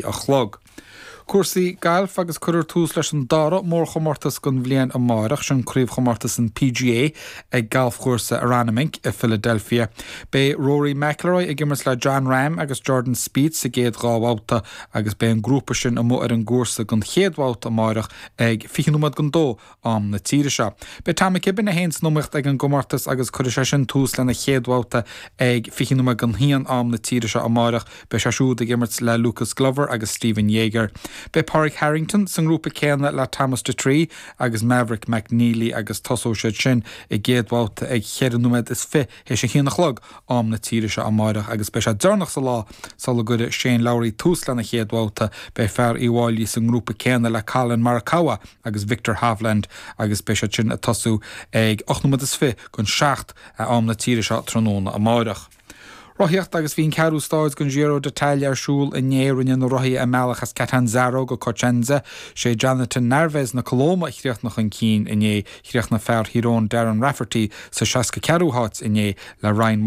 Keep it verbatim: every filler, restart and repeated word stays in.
a chlog. Cúrsaí gailf agus cuirfear tús leis an dara mórchomórtas den bhliain amárach sin craobhchomórtas an PGA ag galfchúrsa Aronimink i Philadelphia. Beidh Rory McIlroy ag imirt le Jon Rahm agus Jordan Spieth sa gcéad dhá bhabhta agus beidh an grúpa sin amuigh ar an gcúrsa don chéad bhabhta amárach ag fiche nóiméad don dó am na tíre seo. Beidh Tom McKibbin é féin san iomaíocht ag an gcomórtas agus cuirfidh sé sin tús lena chéad bhabhta ag fiche nóiméad don haon am na tíre seo amárach, beidh sé siúd ag imirt le Lucas Glover agus Stephen Jaeger. Beidh Pádraig Harrington sa ngrúpa céanna le Thomas Detry agus Maverick McNealy agus tosóidh siad sin a gcéad bhabhta ag ceithre nóiméad is fiche théis a haon a chlog am na tíre seo amárach agus beidh sé deireanach sa lá sula gcuirfidh Shane Lowry tús lena chéad bhabhta beidh fear Uíbh Fhailí sa ngrúpa céanna le Collin Morikawa agus Viktor Hovland agus beidh siad sin ag tosú ag ocht nóiméad is fiche don seacht am na tíre seo tráthnóna amárach. Rothaíocht agus bhí an ceathrú stáid den Giro d'Italia ar siúl inné rinne na rothaithe a mbealach as Catanzaro go Cosenza sé Jonathan Narvaez na Colóime a chríochnaigh chun cinn inné chríochnaigh fear Thír Eoghain Darren Rafferty sa seasca ceathrú háit inné le Ryan